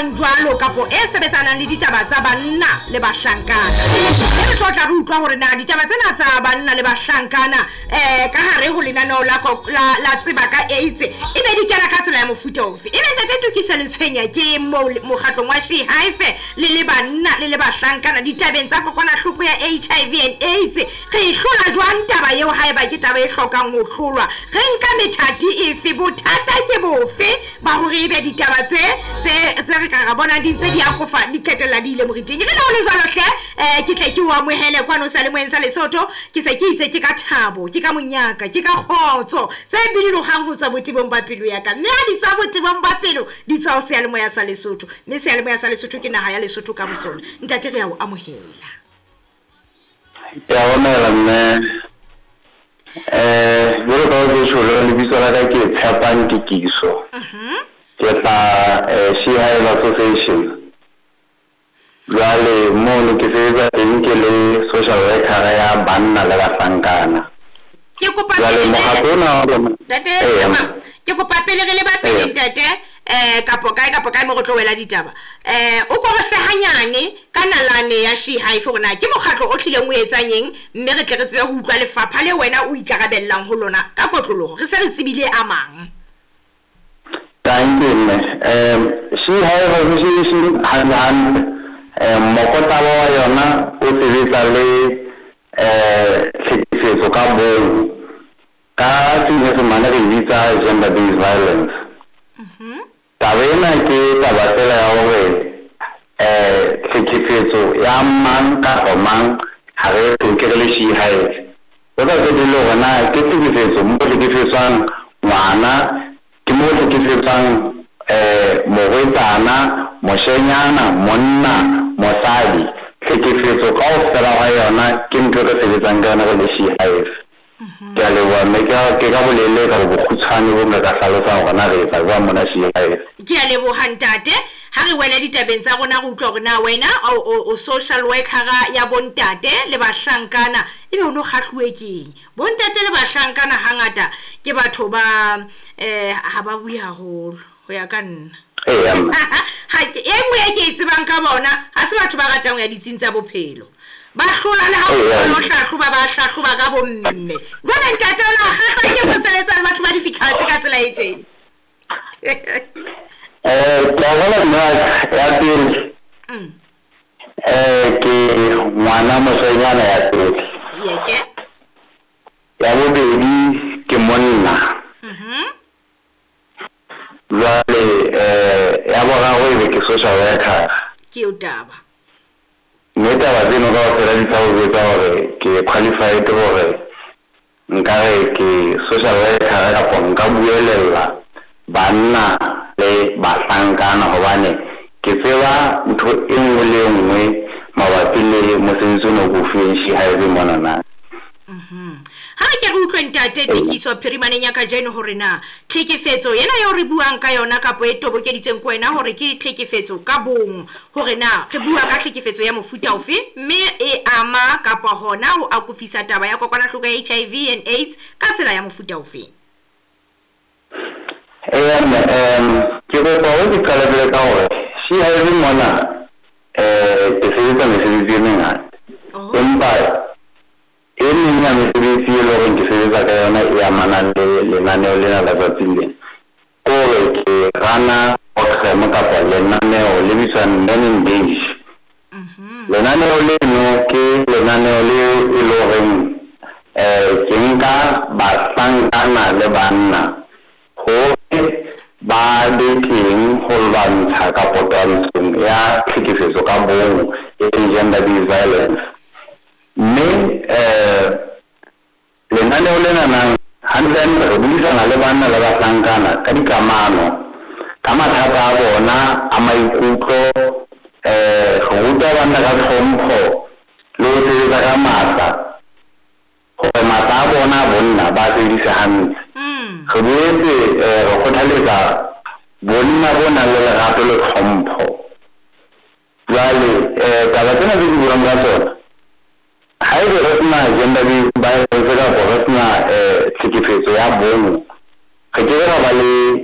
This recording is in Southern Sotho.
buang jwalo kapo e sebetsanang le ditaba tsa banna le bahlankana. Mme re tlo tla re utlwa hore na ditaba tsena tsa banna le bahlankana ka hare ho lenaneo la tseba ka AIDS e be di kena ka tsela ya mofuta ofe. Ebe ntate Tokiso Letshwenya ke moo mokgatlong wa She Hive le le banna le le bahlankana ditabeng tsa kokwanahloko ya HIV and AIDS. Re e hlola jwang taba eo haeba ke taba e hlokang ho hlolwa? Re nka methati efe? Bothata ke bofe ba hore ebe ditaba tse tse tse re ka ra bona di ntse di akofa di qetella di ile moriting? Re le ho le jwalo hle, ke tle ke o amohele kwano seyalemoyeng sa Lesotho. Ke se ke itse ke ka thabo, ke ka monyaka, ke ka kgotso tse bidilohang ho tswa botebong ba pelo ya ka. Mme ha di tswa botebong ba pelo, di tswa ho seyalemoya sa Lesotho. Mme seyalemoya sa Lesotho ke naha ya Lesotho ka bosona. Ntate, re a o amohela. Ke a amohela mme. Jwalo ka o tjho, lebitso la ka ke Tshepang Tikiso. Ke tla She Hive Association. Jwale mono ke sebetsa teng ke le social worker ya banna le bahlankana. Ke kopa Jwale pele mokgatlo ona wa rona ntate Eya. Tshepang, ke kopa pele re leba pele ntate, kapo kae kapo kae mo re tlo wela ditaba. O ko re fe hanyane ka nalane ya She Hive hore na ke mokgatlo o tlileng o etsang eng, mme re tle re tsebe ho utlwa lefapha le wena o ikarabellang ho lona ka kotloloho. Re se re tsebile a mang. Thank you mme. She Hive Association hantle hantle, mokotaba wa yona o sebetsa le tlhekefetso ka bong. Ka Senyesemane re e bitsa gender based violence. Taba ena ke taba fela ya hore tlhekefetso ya mang kapa mang ha re hloke re le She Hive. Ho sa tsotelle hore na ke tlhekefetso mo hlekefetswang ngwana, ke mo hlekefetswang morwetsana, moshenyana, monna, mosadi. Tlhekefetso kaofela hwa yona ke ntho e re sebetsang ka yona re le She Hive. Ke a leboha mme, ke ka bolele ka bokgutshwane bo nka ka hlalosang hore na re etsa jwang mona She Hive. Ke a leboha ntate. Ha re wele ditabeng tsa rona re utlwa hore na wena o social worker ya bontate le bahlankana, ebe o no kgahluwe ke eng? Bontate le bahlankana hangata ke batho ba ha ba bue haholo ho ya ka nna. Eya mme. Ha ke e nngwe e ke e tsebang ka bona, ha se batho ba ratang ho ya ditsing tsa bophelo. Ba hlola le ha o lo hlahloba, ba hlahloba ka bomme. Jwale ntate o la kgahlwa ke ho sebetsa le batho ba difficult ka tsela e tjena? Ke a bona mme ya pele. Ke ngwana moshanyana ya pele. Yeke. Ya bobedi ke monna. Jwale ya boraro ebe ke social worker. Ke eo taba. Mme taba tseno kaofela di tla o jwetsa hore ke qualified hore nkare ke social worker kapa nka buelella banna le bahlankana, hobane ke tseba ntho e nngwe le e nngwe mabapi le mosebetsi ona o ko fuweng She Hive monana. Ha re ke re utlwe ntate Tikiso phirimaneng ya kajeno hore na tlhekefetso ena eo re buang ka yona kapo e tobokeditsweng ke wena hore ke tlhekefetso ka bong, hore na re bua ka tlhekefetso ya mofuta ofe, mme e ama kapa hona ho akofisa taba ya kokwanahloko ya HIV and AIDS ka tsela ya mofuta ofe. Eya mme, ke kopa hore ke qale pele ka hore She Hive mona ke sebetsa mesebetsi e mengata. Empa e meng ya mesebetsi e leng hore ke sebetsa ka yona e amanang le lenaneo lena la tsatsing lena, ke hore ke rana program kapa lenaneo le bitswang Men Engage. Lenaneo leno ke lenaneo le e leng horeng ke nka bahlankana le banna hore ba be teng ho lwantsha kapo twantshong ya tlhekefetso ka bong, e leng gender based violence. Mme lenaneo lena nang hantle hantle re buisana le banna le bahlankana ka dikamano, ka mathata a bona a maikutlo, re ruta banna ka tlhompho le ho sebetsa ka matla hore matla a bona a bonna ba sebedise hantle. Re boetse re kgothaletsa bonna bo nang le lerato le tlhompho. Jwale taba tsena tse ke buang ka tsona, haebe re sena gender based violence kapa re sena tlhekefetso ya bong, re ke ke ra ba le